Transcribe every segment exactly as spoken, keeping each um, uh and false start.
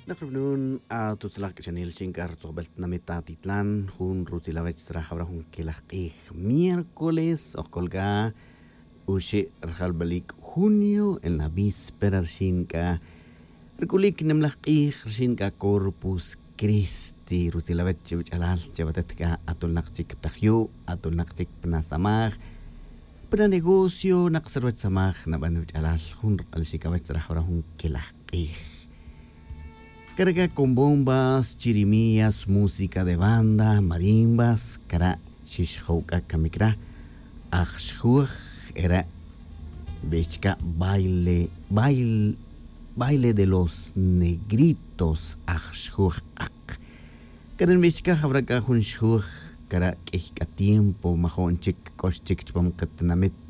Nak rubnun atutzalaj k'axanil xin k'a rutzojbel tinamit atitlan jun rutzil awech tzra jawra jun kelaj q'ij miércoles ojk'ol k'a uxe' rajalbalik junio en la víspera rxin k'a rk'ulik nemlaj q'ij rxin k'a corpus cristi rutzil awech che wach'alal che watet k'a atulnaq chik ptajyu' atulnaq chik pnasamaj pnanegocio naq sa ruwech samaj naban wach'alal jun rq'alxik awech tzra jawra jun kelaj q'ij. Cara' k'a con bombas chirimías música de banda marimbas cara' xixjow k'a kamik ra' aj xjuj era' nbix chika' baile baile de los negritos aj xjuj q'aq. Cara' nbix chika' jawra' k'a jun xjuj cara' k'ey k'a tiempo majo'n chik k'ox chik chupam qatinamit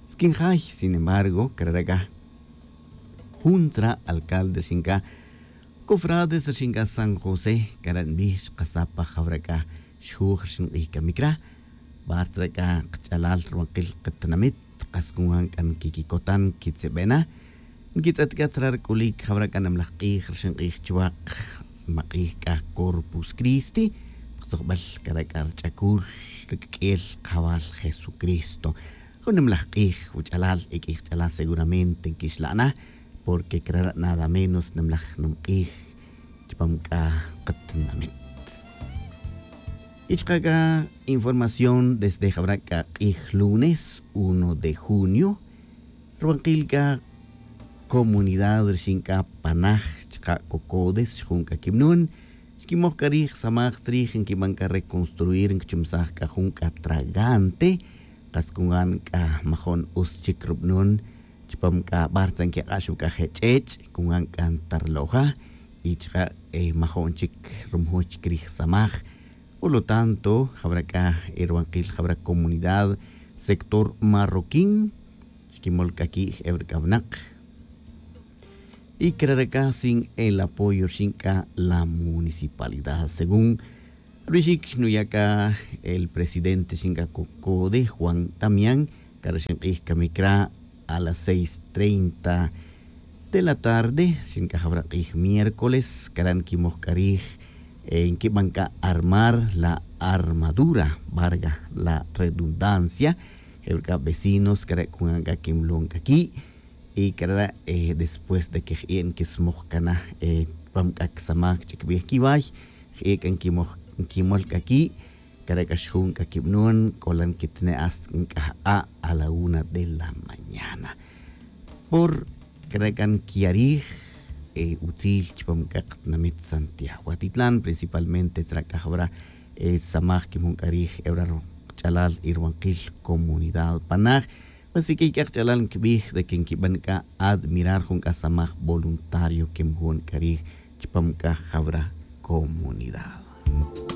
skin jay. Sin embargo cara' ra' k'a jun tzra' alcalde rxin k'a cofrades rxin k'a san josé cara' nbij xkasaj pa jawra' k'a xjuj rxin q'ij kamik ra'. Bar tzra' k'a qach'alal rwaqil qatinamit qas kun wan k'a nkikikotan nkitzibe' na nkitz'et k'a tzra' rk'ulik jawra' k'a nemlaj q'ij rxin q'ij chuwaq maq'ij k'a corpus cristi. Pqtzojbel cara' k'a rch'akul rk'el qajawal jesucristo. Jun nimlaj q'ij wach'alal e k'ij ch'alal seguramente nkixla' na porque crara' nada menos nimlaj numq'ij chupam k'a qatinamit. Y chaka' k'a información desde jawra' k'a q'ij lunes uno de junio rwanqil k'a comunidad rixin k'a panaj chaka' cocodes xjun k'a kibnun xkimoj k'a rij samaj tzrij nkiban k'a reconstruir nkichumsaj k'a jun k'a tragante. Qas kungan k'a majo'n us chik rubnun chupam k'a bartza nkik'ax wi k'a je' ch'ech' kungan k'a ntarloja. Y chaka' majo'n chik rumujuch chik rij samaj. Por lo tanto jawra' k'a erwanqil jawra' comunidad sector marroquín xkimol k'a ki' j'ew ri k'a winaq. Y crara' k'a sin el apoyo rixin k'a la municipalidad según rubixik nuya' k'a el presidente rixin k'a cocode juan damián. Cara' rixin q'ij kamik ra' a las seis treinta de la tarde rixin k'a jawra' q'ij miércoles cara' nkimoj k'a rij nkiban k'a armar la armadura varga la redundancia. Jewri' k'a vecinos cara' kungan k'a kimlon k'a ki' y cara' después de que jie' nkismoj k'a na chupam k'a kisamak ch'ikbij kiway jie' k'a nkimol k'a ki'. Cara' k'a xjun k'a kibnun k'olan kitne' hasta nk'aj a' a la una de la mañana. Por cara' k'a nkiya' rij utzil chupam k'a qatinamit santiago atitlan principalmente tzra' k'a jawra' samaj kimjun k'a rij ewra' rch'alal irwanqil comunidad panaj. Pues k'iy k'a qch'alal nkibij de que nkiban k'a admirar jun k'a samaj voluntario kimjun k'a rij chupam k'a jawra' comunidad.